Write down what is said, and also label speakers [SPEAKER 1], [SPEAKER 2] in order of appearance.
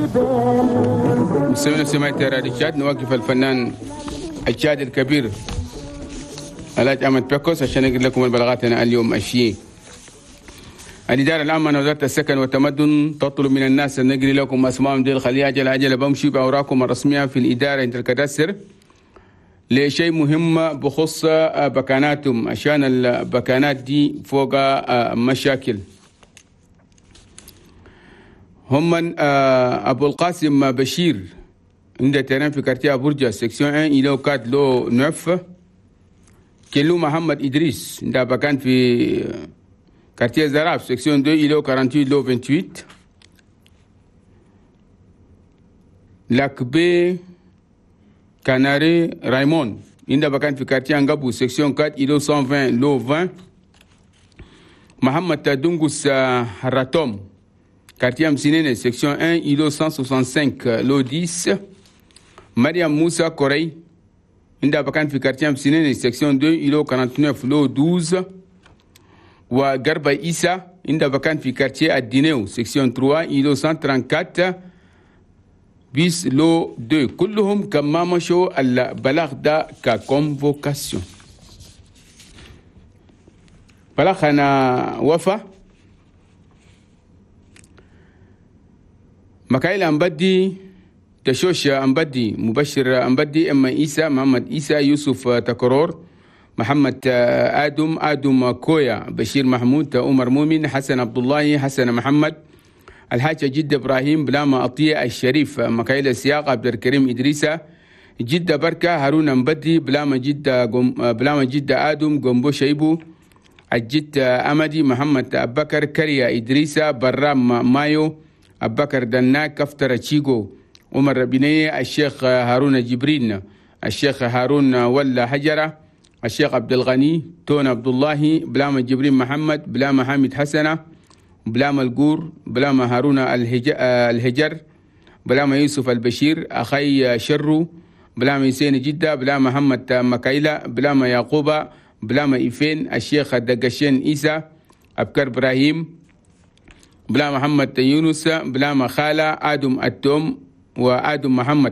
[SPEAKER 1] مستمعينا سمعت راديو تشاد، نوقف الفنان التشادي الكبير الحاج أحمد بيكوس عشان يقول لكم البلاغات اليوم الشيء. الإدارة العامة لوزارة السكن والتمدن تطلب من الناس أن نقري لكم أسمائهم ديل خليها عجل عجل بمشي بأوراقكم الرسمية في الإدارة عند الكدستر لشيء مهم بخص بكاناتهم، عشان البكانات دي فوق مشاكل. هم من أبو القاسم بشير عند terrain في quartier برجة section 1 îlot 4 lot 9. كيلو محمد إدريس عند بكان في quartier زراف section 2 îlot 48 lot 28. لاكبي كاناري رايمون عند بكان في quartier أنغابو section 4 îlot 120 lot 20. محمد دونغوس هراتوم quartier أمسينيني section 1 îlot 165 lot 10. مريم موسى كوري عند بكان في quartier أمسينيني section 2 îlot 49 lot 12. وغربة إيسا عند بكان في quartier الدينيو section 3 îlot 134 bis lot 2. كلهم كما مشوا البلاغ ده ك convocation. بلاغ أنا وفا مكايل أمبدي تشوش أمبدي مبشر أمبدي أما إيسا محمد إيسا يوسف تكرور محمد آدم آدم كويا بشير محمود عمر مؤمن حسن عبد الله حسن محمد الحاج جد إبراهيم بلاما أطية الشريف مكايل السياق عبد الكريم إدريسة جدة بركة هارون أمبدي بلاما جدة بلاما جدة آدم جنبو شيبو الجد أمدي محمد أبكر كريا إدريسة برام مايو أبكر دنا كفتر تشيغو عمر بنية الشيخ هارون جبرين الشيخ هارون ولا حجرة الشيخ عبد الغني تون عبد الله بلاما جبرين محمد بلاما حامد حسنة بلاما الجور بلاما هارون الهجر بلاما يوسف البشير أخي شرو بلاما يسين جدة بلاما محمد مكايلة بلاما يعقوبة بلاما إيفين الشيخ الدقشين إيسا أبكر إبراهيم بلا محمد يونس بلا مخالة آدم التوم وآدم محمد.